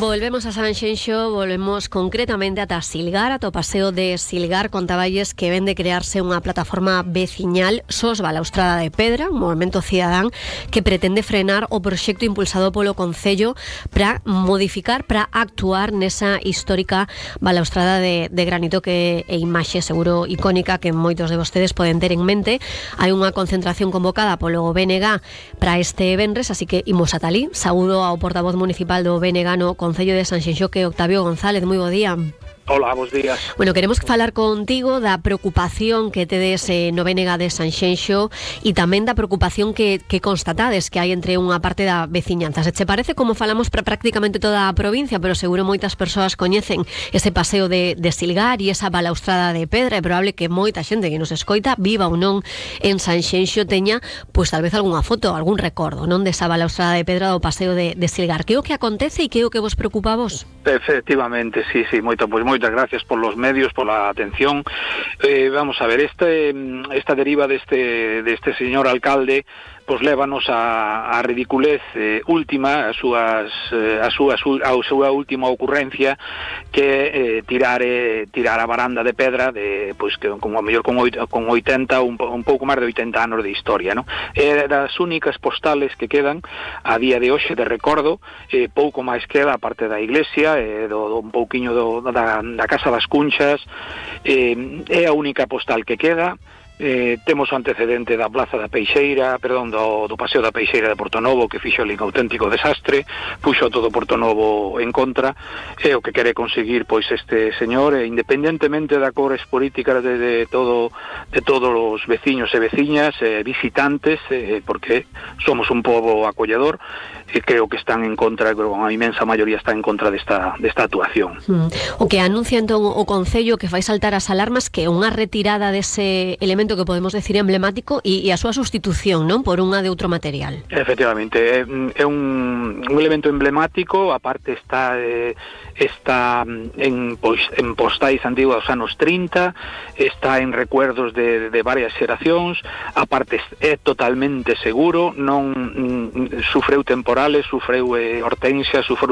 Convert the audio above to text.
Volvemos a Sanxenxo, volvemos concretamente ata Silgar, ata o paseo de Silgar. Contaballes que ven de crearse unha plataforma veciñal SOS Balaustrada de Pedra, un movimento cidadán que pretende frenar o proxecto impulsado polo Concello para modificar, para actuar nesa histórica balaustrada de granito que é imaxe seguro icónica que moitos de vostedes poden ter en mente. Hai unha concentración convocada polo BNG para este venres, así que imos ata alí. Saúdo ao portavoz municipal do BNG no Concello de Sanxenxo, que Octavio González. Moi bo día. Hola, bos días. Bueno, queremos falar contigo da preocupación que tedes no BNG de Sanxenxo e tamén da preocupación que constatades que hai entre unha parte da veciñanza. Se che parece, como falamos para prácticamente toda a provincia, pero seguro moitas persoas coñecen ese paseo de Silgar e esa balaustrada de pedra. É probable que moita xente que nos escoita, viva ou non en Sanxenxo, teña, pois tal vez algunha foto, algún recordo, non, desa balaustrada de pedra do paseo de Silgar. Que é o que acontece e que é o que vos preocupa a vos? Efectivamente, sí, moitas gracias por los medios, por la atención. Vamos a ver, esta deriva deste señor alcalde pois lévanos a ridiculez última, a súa última ocurrencia, que tirar a baranda de pedra de pois que como a mellor con 80 un pouco máis de 80 anos de historia, non? É das únicas postales que quedan a día de hoxe de recordo. Pouco máis queda a parte da iglesia, un pouquiño da Casa das Cunchas. É a única postal que queda. Temos o antecedente da Plaza da Peixeira, do Paseo da Peixeira de Portonovo, que fixo ali un auténtico desastre, puxo todo Portonovo en contra. É o que quere conseguir pois este señor, independentemente da cores políticas de todos os veciños e veciñas, visitantes, porque somos un pobo acolledor, e creo que están en contra, creo que a inmensa maioría está en contra desta actuación. O que anuncia entón o Concello, que fai saltar as alarmas, que é unha retirada dese elemento que podemos decir emblemático e a súa sustitución, non, por unha de outro material. Efectivamente, é un elemento emblemático. A parte está en postais antiguas dos anos 30, está en recuerdos de varias xeracións. A parte é totalmente seguro, non sufreu temporales, sufreu hortensias, sufreu